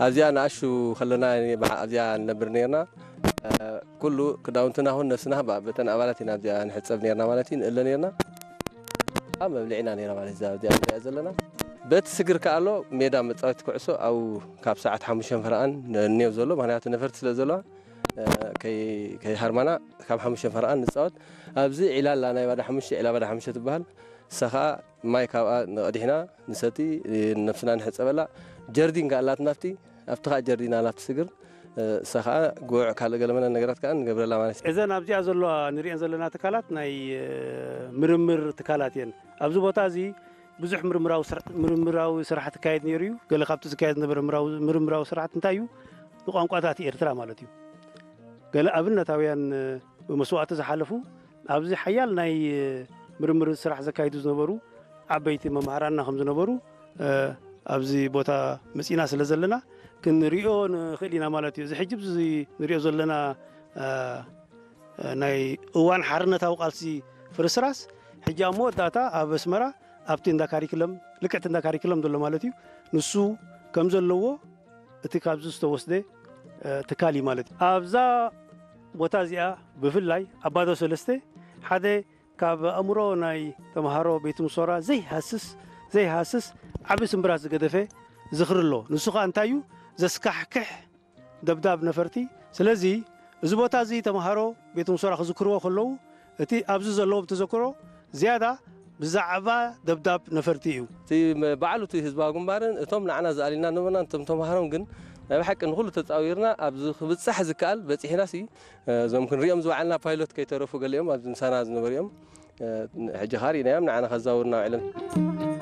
ኣብዚኣ ንኣሹ ከለና ኣብዚኣ ንነብር ነርና። ኩሉ ክዳውንትና ኹን ነብስና በተን ኣባላት ኢና ኣብዚኣ ንሕጸብ ነርና ማለት እዩ፣ ንእለ ነርና። ኣብ መብልዒና ነራ ማለት እዛ ኣብዚኣ ንሪኣ ዘለና። በቲ ስግር ከኣ ኣሎ ሜዳ መጻወቲ ኩዕሶ ኣብኡ ካብ ሰዓት ሓሙሽተ ፈረቓን እኒኦ ዘሎ፣ ምኽንያቱ ነፈርቲ ስለ ዘለዋ፣ ከይሃርማና ካብ ሓሙሽተ ፈረቓን ንጻወት። ኣብዚ ዒላ ኣላ፣ ናይ ባዳ ሓሙሽተ፣ ዒላ ባዳ ሓሙሽተ ትበሃል። እሳ ኸኣ ማይ ካብኣ ንቐዲሕና ንሰቲ፣ ነብስና ንሕጸበላ። ጀርዲን ከኣ ኣላትና ኣብቲ፣ ኣብቲ ኸኣ ጀርዲን ኣላ ኣብቲ ስግር። እሳ ኸኣ ጉዕ ካልእ ገለመለ ነገራት ከኣ ንገብረላ ማለት እዩ። እዘን ኣብዚኣ ዘለዋ ንሪኤን ዘለና ትካላት ናይ ምርምር ትካላት እየን። ኣብዚ ቦታ እዚ ብዙሕ ምርምራዊ ስራ-፣ ምርምራዊ ስራሕ ትካየድ ነይሩ እዩ። ገለ ካብቲ ዝካየድ ዝነበረ ምራዊ-፣ ምርምራዊ ስራሕቲ እንታይ እዩ? ንቋንቋታት ኤርትራ ማለት እዩ። ገለ ኣብነታውያን መስዋእቲ ዝሓለፉ ኣብዚ ሓያል ናይ ምርምር ስራሕ ዘካይዱ ዝነበሩ ዓበይቲ መማህራንና ከም ዝነበሩ ኣብዚ ቦታ መጺና ስለ ዘለና ክንሪኦ ንኽእል ኢና ማለት እዩ። እዚ ሕጂ እዚ ንሪኦ ዘለና ናይ እዋን ሓርነታዊ ቃልሲ ፍርስራስ ሕጂ ኣብ መወዳእታ ኣብ ኣስመራ ኣብቲ እንዳ ካሪክለም፣ ልክዕቲ እንዳ ካሪክለም ዘሎ ማለት እዩ፣ ንሱ ከም ዘለዎ እቲ ካብዚ ዝተወስደ ትካል እዩ ማለት እዩ። ኣብዛ ቦታ እዚኣ ብፍላይ ኣባዶ ሰለስተ ሓደ ካብ ኣእምሮ ናይ ተምሃሮ ቤት ምሶራ ዘይሃስስ ዘይሃስስ ዓቢ ስምብራት ዝገደፈ ዝኽሪ ኣሎ። ንሱ ኸኣ እንታይ እዩ? ዘስካሕክሕ ደብዳብ ነፈርቲ። ስለዚ እዚ ቦታ እዚ ተምሃሮ ቤት ምሶራ ክዝክርዎ ከለዉ እቲ ኣብዚ ዘለዎም ተዘክሮ ዝያዳ ብዛዕባ ደብዳብ ነፈርቲ እዩ። እቲ መ-፣ ባዕሉ እቲ ህዝባዊ ግንባርን እቶም ንዓና ዝኣልዩና ነበርና፣ እቶም ተምሃሮን ግን ናይ ብሓቂ ንኹሉ ተጻዊርና ኣብዚ ክብጻሕ ዝከኣል በጺሕናሲ፣ እዞም ክንሪኦም ዝወዓልና ፓይሎት ከይተረፉ ገሊኦም ኣብዚ ምሳና ዝነበሩ እዮም። ሕጂ ኻኣ ርኢናዮም ንዓና ከዛውሩና ውዒሎም።